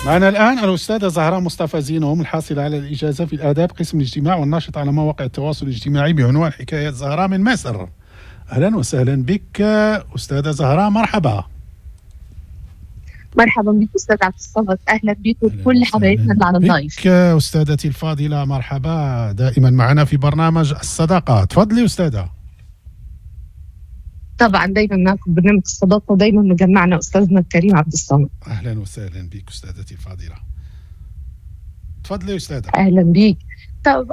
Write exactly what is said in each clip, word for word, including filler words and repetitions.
معنا الآن الأستاذة زهراء مصطفى زينهم، الحاصلة على الإجازة في الآداب قسم الاجتماع والناشطة على مواقع التواصل الاجتماعي بعنوان حكايات زهراء من مصر. أهلا وسهلا بك أستاذة زهراء، مرحبا. مرحبا بك أستاذ عبد الصمد، أهلا بك وكل حبايبنا اللي على ال live. بك أستاذتي الفاضلة، مرحبا، دائما معنا في برنامج الصداقة. تفضلي أستاذة. طبعا دايما معكم برنامج الصداقة ودايما مجمعنا أستاذنا الكريم عبد الصمد. أهلا وسهلا بك أستاذتي الفاضلة، تفضلي أستاذة. أهلا بك. طب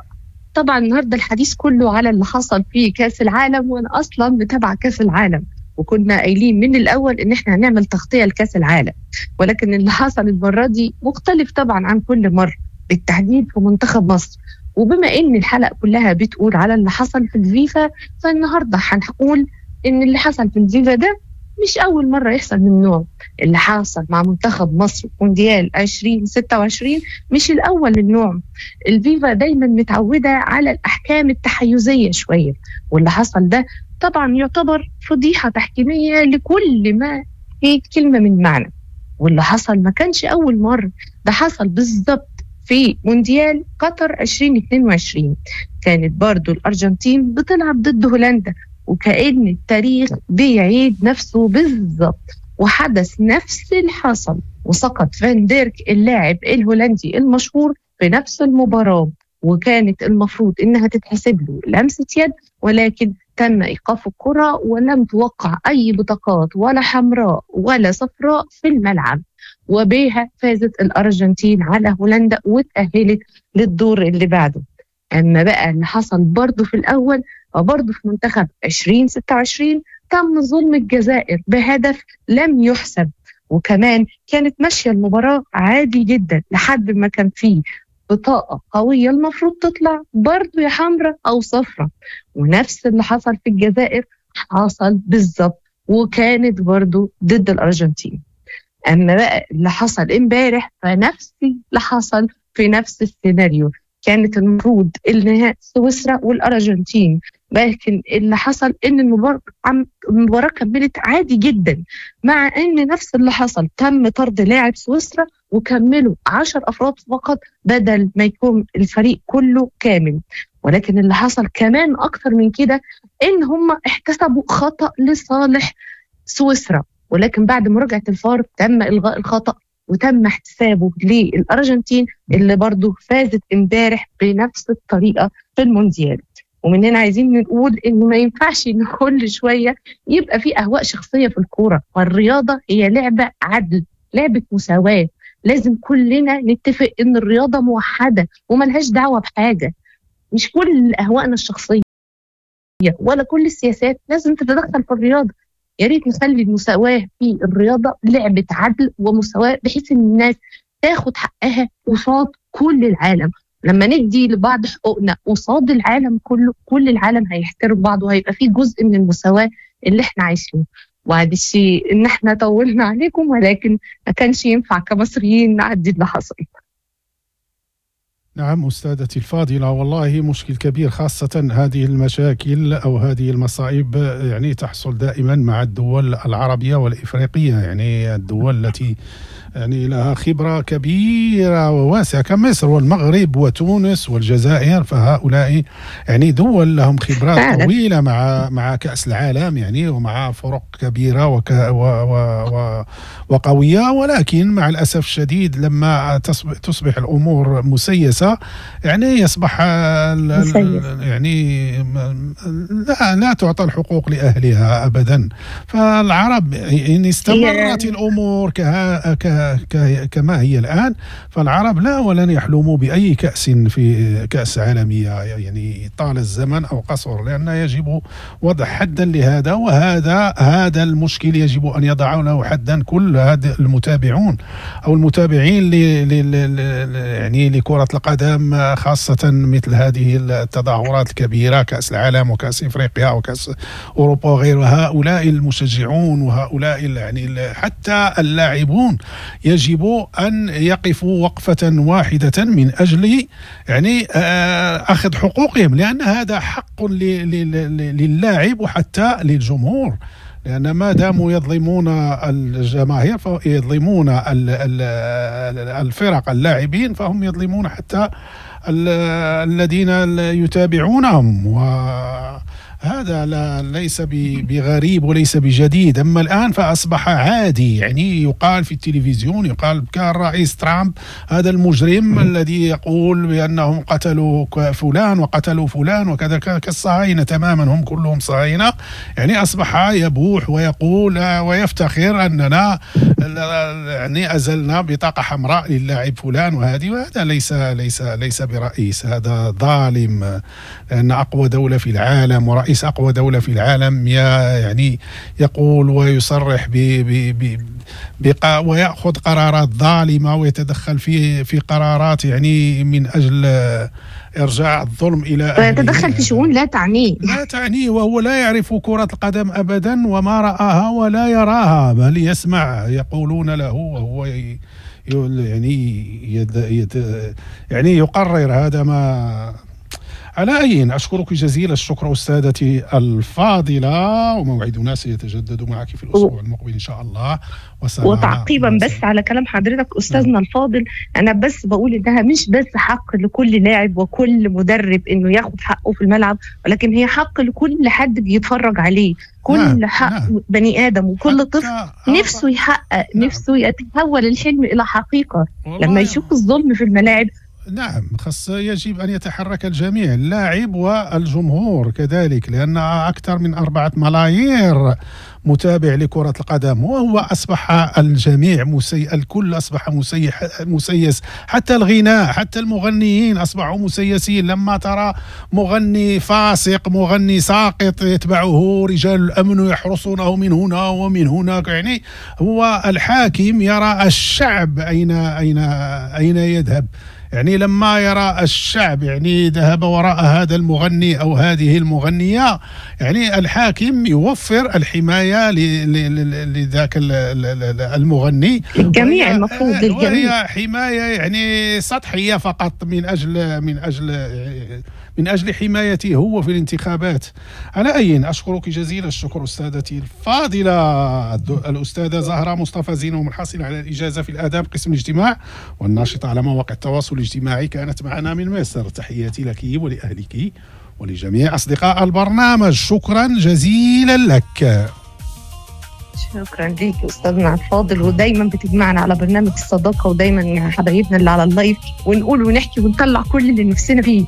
طبعا النهارده الحديث كله على اللي حصل في كأس العالم، وأنا أصلا متابعة كأس العالم، وكنا قايلين من الأول إن إحنا هنعمل تغطية لكأس العالم، ولكن اللي حصل المرة دي مختلف طبعا عن كل مرة، بالتحديد في منتخب مصر. وبما إن الحلقة كلها بتقول على اللي حصل في الفيفا، فالنهارده هنقول إن اللي حصل في الفيفا ده مش أول مرة يحصل من نوع. اللي حصل مع منتخب مصر مونديال عشرين ستة وعشرين مش الأول من نوع. الفيفا دايما متعودة على الأحكام التحيزية شوية، واللي حصل ده طبعا يعتبر فضيحة تحكيمية لكل ما في كلمة من معنى. واللي حصل ما كانش أول مرة، ده حصل بالظبط في مونديال قطر عشرين اتنين وعشرين. كانت برضو الأرجنتين بتلعب ضد هولندا، وكأن التاريخ بيعيد نفسه بالظبط، وحدث نفس اللي حصل، وسقط فان ديرك اللاعب الهولندي المشهور في نفس المباراة، وكانت المفروض إنها تتحسب له لمسة يد، ولكن تم إيقاف الكرة ولم توقع أي بطاقات ولا حمراء ولا صفراء في الملعب، وبها فازت الأرجنتين على هولندا وتأهلت للدور اللي بعده. أما بقى اللي حصل برضه في الأول، وبرضه في منتخب عشرين ستة وعشرين تم ظلم الجزائر بهدف لم يحسب، وكمان كانت ماشية المباراة عادي جدا لحد ما كان فيه بطاقة قوية المفروض تطلع برضه يا حمراء أو صفراء، ونفس اللي حصل في الجزائر حصل بالظبط، وكانت برضه ضد الأرجنتين. أما بقى اللي حصل امبارح فنفس اللي حصل في نفس السيناريو، كانت المفروض النهائي سويسرا والأرجنتين، لكن اللي حصل إن المباراة المباراة كملت عادي جدا، مع إن نفس اللي حصل تم طرد لاعب سويسرا وكملوا عشر أفراد فقط بدل ما يكون الفريق كله كامل. ولكن اللي حصل كمان أكثر من كده إن هم احتسبوا خطأ لصالح سويسرا، ولكن بعد مراجعة الفار تم إلغاء الخطأ وتم احتسابه للأرجنتين اللي برضو فازت امبارح بنفس الطريقة في المونديال. ومن هنا عايزين نقول إنه ما ينفعش إن كل شوية يبقى في أهواء شخصية في الكورة، والرياضة هي لعبة عدل، لعبة مساواة، لازم كلنا نتفق إن الرياضة موحدة وملهاش دعوة بحاجة. مش كل أهوائنا الشخصية ولا كل السياسات لازم تتدخل في الرياضة. يا ريت نخلي المساواة في الرياضة لعبة عدل ومساواة، بحيث إن الناس تاخد حقها قصاد كل العالم. لما ندي لبعض حقوقنا قصاد العالم كله، كل العالم هيحترم بعض وهيبقى فيه جزء من المساواة اللي احنا عايشينه. وهذا الشيء إن احنا طولنا عليكم، ولكن ما كانش ينفع كمصريين نعدي اللي حصل. نعم أستاذتي الفاضلة، والله مشكل كبير، خاصة هذه المشاكل أو هذه المصائب يعني تحصل دائما مع الدول العربية والإفريقية، يعني الدول التي يعني لها خبرة كبيرة وواسعة كمصر والمغرب وتونس والجزائر، فهؤلاء يعني دول لهم خبرات طويلة مع مع كأس العالم يعني ومع فرق كبيرة وك و و و وقوية، ولكن مع الأسف الشديد لما تصبح, تصبح الأمور مسيسة يعني يصبح يعني لا لا تعطى الحقوق لأهلها أبدا. فالعرب إن استمرت الأمور كها كما هي الآن فالعرب لا ولن يحلموا بأي كأس في كأس عالمية يعني طال الزمن أو قصر، لأن يجب وضع حدا لهذا، وهذا هذا المشكل يجب أن يضعوا له حدا كل هذا المتابعون أو المتابعين ل يعني لكرة القدم، خاصة مثل هذه التظاهرات الكبيرة كأس العالم وكأس إفريقيا وكأس أوروبا وغيرها. هؤلاء المشجعون وهؤلاء يعني حتى اللاعبون يجب أن يقفوا وقفة واحدة من أجل يعني أخذ حقوقهم، لأن هذا حق للاعب وحتى للجمهور. لأن ما داموا يظلمون الجماهير فيظلمون الفرق اللاعبين، فهم يظلمون حتى الذين يتابعونهم، وهذا لا ليس بغريب وليس بجديد. أما الآن فأصبح عادي، يعني يقال في التلفزيون، يقال كان الرئيس ترامب هذا المجرم الذي يقول بأنهم قتلوا فلان وقتلوا فلان وكذا، كالصهاينة تماما، هم كلهم صهاينة، يعني أصبح يبوح ويقول ويفتخر أننا يعني أزلنا بطاقة حمراء للاعب فلان وهذه، وهذا ليس ليس ليس برئيس، هذا ظالم، لأن أقوى دولة في العالم ورئيس أقوى دولة في العالم يعني يقول ويصرح ب ب ب ويأخذ قرارات ظالمة ويتدخل في في قرارات يعني من أجل إرجاع الظلم إلى أهله، ويتدخل في شؤون لا تعنيه لا تعنيه، وهو لا يعرف كرة القدم أبدا وما رآها ولا يراها، بل يسمع يقولون له وهو يعني يد يد يعني يقرر هذا. ما على أي، أشكرك جزيل الشكر أستاذتي الفاضلة، وموعدنا سيتجدد معك في الأسبوع المقبل إن شاء الله. وتعقيبا بس على كلام حضرتك أستاذنا الفاضل، أنا بس بقول إنها مش بس حق لكل لاعب وكل مدرب إنه ياخد حقه في الملعب، ولكن هي حق لكل حد بيتفرج عليه، كل نعم. حق نعم. بني آدم وكل طفل نفسه يحقق، نعم. نفسه يتحول الحلم إلى حقيقة لما يشوف الظلم في الملاعب. نعم، خاص يجب أن يتحرك الجميع، اللاعب والجمهور كذلك، لأن أكثر من أربعة ملايير متابع لكرة القدم، وهو أصبح الجميع مسي... الكل أصبح مسيح... مسيس، حتى الغناء، حتى المغنيين أصبحوا مسيسين. لما ترى مغني فاسق، مغني ساقط، يتبعه رجال الأمن يحرسونه من هنا ومن هناك، يعني هو الحاكم يرى الشعب أين أين أين يذهب، يعني لما يرى الشعب يعني ذهب وراء هذا المغني أو هذه المغنية، يعني الحاكم يوفر الحماية لذاك المغني الجميع، المفروض للجميع، وهي حماية يعني سطحية فقط من أجل من أجل من أجل حمايته هو في الانتخابات. على أي، أشكرك جزيل الشكر أستاذتي الفاضلة الأستاذة زهرة مصطفى زينهم، الحاصلة على الإجازة في الآداب قسم الاجتماع والناشطة على مواقع التواصل الاجتماعي، كانت معنا من مصر. تحياتي لك ولأهلك ولجميع أصدقاء البرنامج، شكرا جزيلا لك. شكرا ليك أستاذنا الفاضل، ودايما بتجمعنا على برنامج الصداقة، ودايما حبايبنا اللي على اللايف، ونقول ونحكي ونطلع كل اللي نفسنا فيه،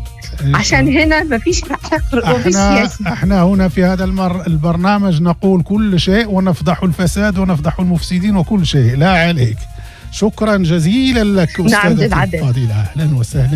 عشان هنا مفيش حقر ومفيش سياسة. احنا هنا في هذا المر البرنامج نقول كل شيء، ونفضح الفساد ونفضح المفسدين وكل شيء، لا عليك. شكرا جزيلا لك أستاذة الفاضلة، أهلا وسهلا.